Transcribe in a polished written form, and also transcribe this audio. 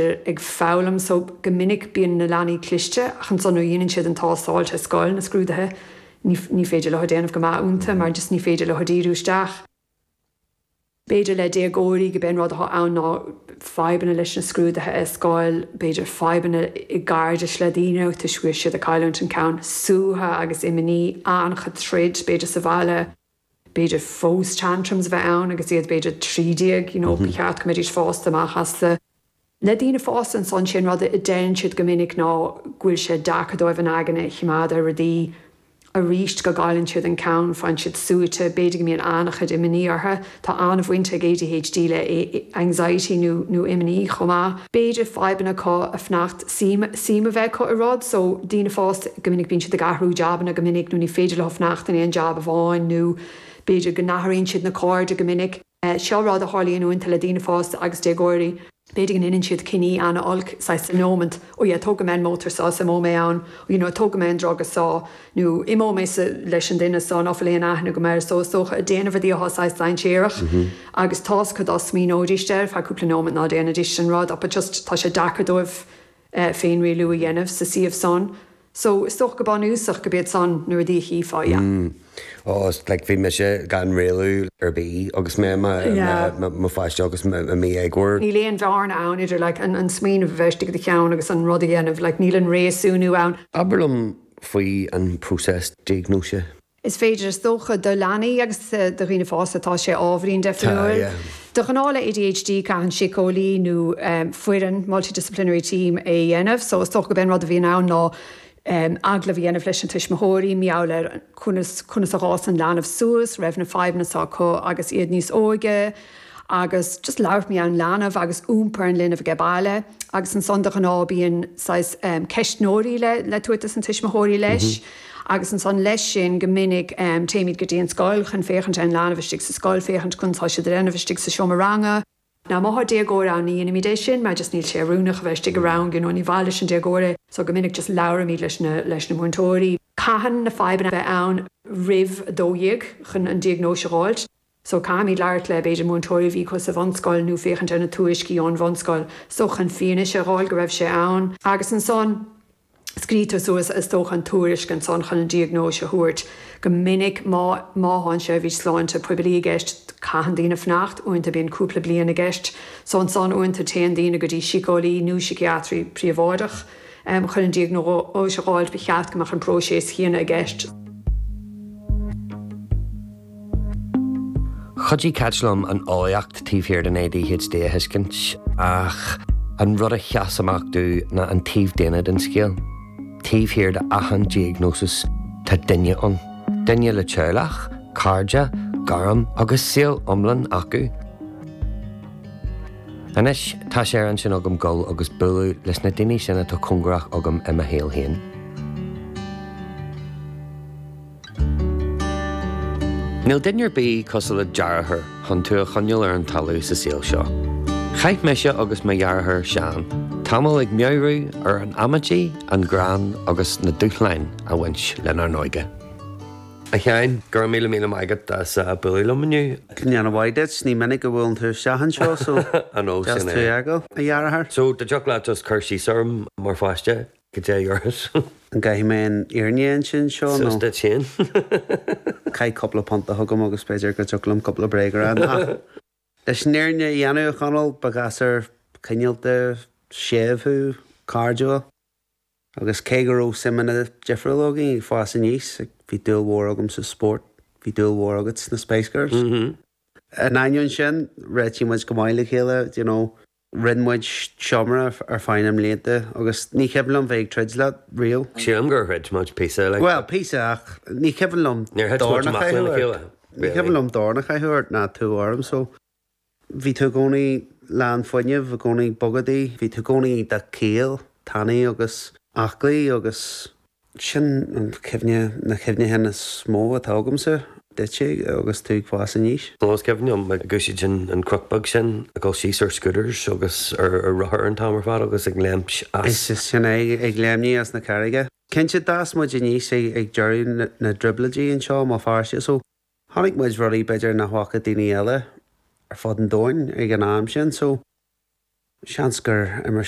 Ag foghlaim so go minic bíonn na leanaí cliste ach ansan nuair a dhéanann siad an tástáil sa scoil, na scrúduithe, ní ní féidir leo déanamh go maith iontu mar just ní féidir leo díriú isteach. B'fhéidir le déagóirí go b'é an rud atá ann ná fadhbanna leis na scrúduithe ar scoil, b'fhéidir fadhbanna i gcairdis le daoine toisc go bhfuil siad ag cailliúint an ceann, suaitheadh agus imní, an-chuid troid b'fhéidir sa bhaile. b'fhéidir fós tantrums a bheith ann agus iad b'fhéidir 13, you know, ba cheart go mbeidís fásta amach astu. Le daoine fásta ansan, sé an rud a deireann siad go minic ná go bhfuil sé deacair dóibh an aigne a choimeád ar rudaí arís, go gcailleann siad an ceann, faigheann siad suaite, b'fhéidir go mbíonn an-chuid imní orthu. Tá an-bhaint ag ADHD le anxiety nó nó imní chomh maith. B'fhéidir fadhbanna acu a fanacht, suim, suim a bheith acu i rud, so daoine fásta, go minic bíonn siad ag athrú jabanna go minic nó ní féidir leo fanacht in aon jab amháin nó b'fhéidir go n-athraíonn siad na cairde go minic. Seo rud a tharlaíonn uaireanta le daoine fásta agus déagóirí. B'fhéidir go ndéanann siad cinní an-olc, saghas sa nóimeant, oh yeah, tógfaidh mé an mótar seo is imeoidh mé ann, you know, tógfaidh mé an druga seo nó imeoidh mé sa, leis an duine seo ná fuil aon aithne agam air so is dócha ag déanamh rudaí atá saghas dainséarach agus tá's acu dá smaoineoidís air feadh cúpla nóimeant ná déanfaidís an rud but just tá sé deacair dóibh féinrialú a dhéanamh sa suíomh san. So, is dócha go bunúsach go b'iad san na rudaí a chífeá, yeah. Mm. Oh, like bhí mise gan rialú ar bith agus mé i mo pháiste agus i mo dhéagóir. Níl aon bhearna ann idir like an smaoineamh a bheith istigh i do cheann agus an rud a dhéanamh, like níl an réasúnú ann. Abair liom faoi an próiseas diagnóise. Is féidir, is dócha, do leanaí agus do dhaoine fásta, tá sé ábhairín difriúil. De ghnáth le ADHD caitheann síceolaí nó foireann, multidisciplinary team, é a dhéanamh. So is dócha gurb é an rud a bhíonn ann ná agallamh a dhéanamh leis na tuismitheoirí, mar gheall ar conas conas a dh'fhás an leanbh suas, raibh na fadhbanna seo acu agus iad níos óige. agus just labhairt mar gheall ar an leanbh agus iompar an linbh age baile agus ansan de ghnáth bíonn saghas ceistneoirí le le tabhairt dos na tuismitheoirí leis agus ansan leis sin go minic téimid go dtí an scoil chun féachaint ar an leanbh istigh sa scoil, féachaint conas tá siad a dhéanamh istigh sa seomra ranga. Now má thá déagóir ann ní dhéanaimid é sin mar just níl sé oiriúnach a bheith istigh i rang you know ní mhaith leis an déagóir é so go minic just labhraímid leis na leis na múinteoirí. Caitheann na fadhbanna a bheith ann roimh 12 chun an diagnóis a dh'fháilt. So caithfimid labhairt le, b'fhéidir, múinteoirí a bhí acu sa bhunscoil nó féachaint ar na tuairiscí ón bhunscoil so chun fianaise a dh'fháil go raibh sé ann. Agus ansan scrítear suas, is dócha, an tuairisc ansan chun an diagnóis a thabhairt. Go minic má, má thá an seirbhís sláinte poiblí i gceist, caitheann daoine fanacht, uaireanta bíonn cúpla bliain i gceist. So ansan uaireanta téann daoine go dtí síceolaí nó síciatraí príobháideach. Chun an diagnóis a dh'fháilt ba cheart go mbeadh an próiseas chéanna i gceist. Chuidigh Cáit liom an eolaíocht taobh thiar den ADHD a thuiscint, ach an rud a sheas amach domh ná an taobh daonna den scéal. Taobh thiar de achan diagnósis tá duine ann. Duine le teaghlach, cairde, gairm agus saol iomlán acu. Anois tá sé ar intinn agam dul agus bualadh leis na daoine sin atá cóngarach agam i mo shaol féin. Níl duine ar bith cosúil le deartháir chun tú a choinneáil ar an talamh sa saol seo. Chaith mise agus mo dheartháir Seán tamall ag meabhrú ar an amaidí, an greann agus na dúshláin a bhain lenár n-óige. A Sheáin, go raibh míle míle maith agat as bualadh liom inniu. Go ndéana mhaith duit, ní minic a bhuaileann tú isteach anseo so deas tú a fheiceáil, a dheartháir. So, dá dtiocfadh leat just cur síos orm mar pháiste? Cad é yours. An gcaithfidh mé an fhírinne a insint anseo nó? Suas duit féin. Caith cúpla punta chugam agus b'fhéidir go dtiocfadh liom cúpla bréag a rá. Ach leis an fhírinne a dhéanamh, a Chonaill, ba ghasúr cineálta, séimh thú, cairdiúil. Agus cé go raibh suimeanna difriúla againn ag fás aníos, bhí dúil mhór agam sa spórt, bhí dúil mhór agat sna Spice Girls. In ainneoin sin, réitigh muid go maith le chéile, you know. Roinn muid seomra ar feadh na mblianta agus ní cuimhin liom bheith ag troid leat riamh. Sílim gur throid muid píosa, like. Bhuel, píosa ach ní cuimhin liom Níor thit dorn muid a amach chaitheamh lena ort. chéile, Ní really. cuimhin liom dorn a chaitheamh ort ná tú orm so bhí tú i gcónaí lán fuinnimh, i gcónaí bogadaí, bhí tú i gcónaí iontach caol, tanaí agus aclaí agus. Sin an chuimhne, na cuimhneacháin is mó atá agamsa duitse agus tú ag fás aníos. Nó is cuimhin liom ag úsáid an cnoc beag sin, ag dul síos ar scooters agus ar rothair an t-am ar fad agus ag léimt as. Is sin é, ag léimnigh as na carraige. Cinnte, d'fhás muid aníos ag deireadh na dtrioblóidí anseo i mBéal Feirste so chonaic muid rudaí b'fhéidir nach bhfaca daoine eile ar fud an domhain ag an am sin so. Seans gur imir sé.